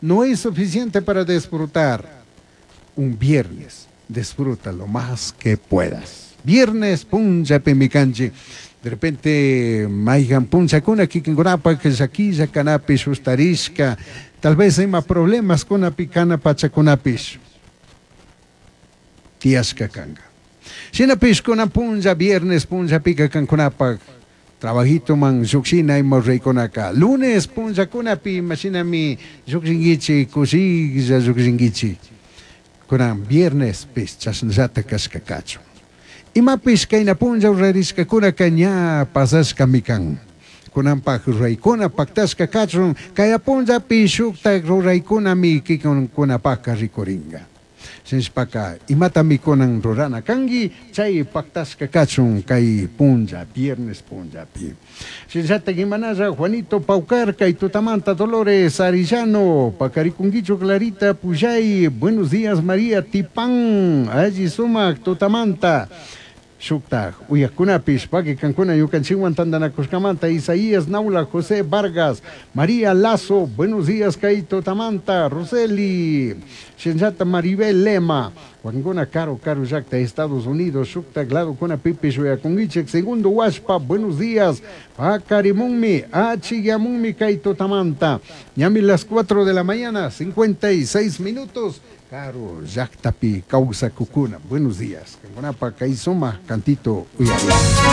No es suficiente para disfrutar un viernes. Disfruta lo más que puedas. Viernes punllapimi kanchik. De repente mayhan punllakuna kikinkunapak llaquilla kanapish sustarishka, tal vez ima problemas kunapi kana pachakunapish tiyashka kanka. Shinapish kunan punlla viernes punllapika kankunapak trabajitoman llukshina ima ruraykunaka lunes punllakunapi imashinami llukshinkichik kushilla llukshinkichik. Kunan viernespish chashnallata kashka kachun. Imapish kayna punlla rurarishkakunaka ña pasashkami kan. Kunanpak ruraykuna paktashka kachun kaya punllapi shuktak ruraykunami kikinkunapaka rikurinka. Shinashpaka imatami kunan rurana kanki chay paktashka kachun kay punlla viernes punllapi. Shinallatak imanalla Juanito Paucar kay tutamanta Dolores Arellano pakarikunkichu Clarita Puyay buenos días María Tipán alli sumak tutamanta. Shuktak uyakunapish paki kankuna ñukanchikwan tantanakushkamanta Isaías Naula José Vargas María Lazo buenos días kay tutamanta Roseli shinallata Maribel Lema wakinkuna karu karu llakta Estados Unidos shuktak ladokunapipish uyakunkichik Segundo Huashpa buenos días pakarimunmi achikyamunmi kay tutamanta ñami las 4 de la mañana 56 minutos karu llaktapi kawsakukuna buenos días kankunapa kay sumak cantito uyari.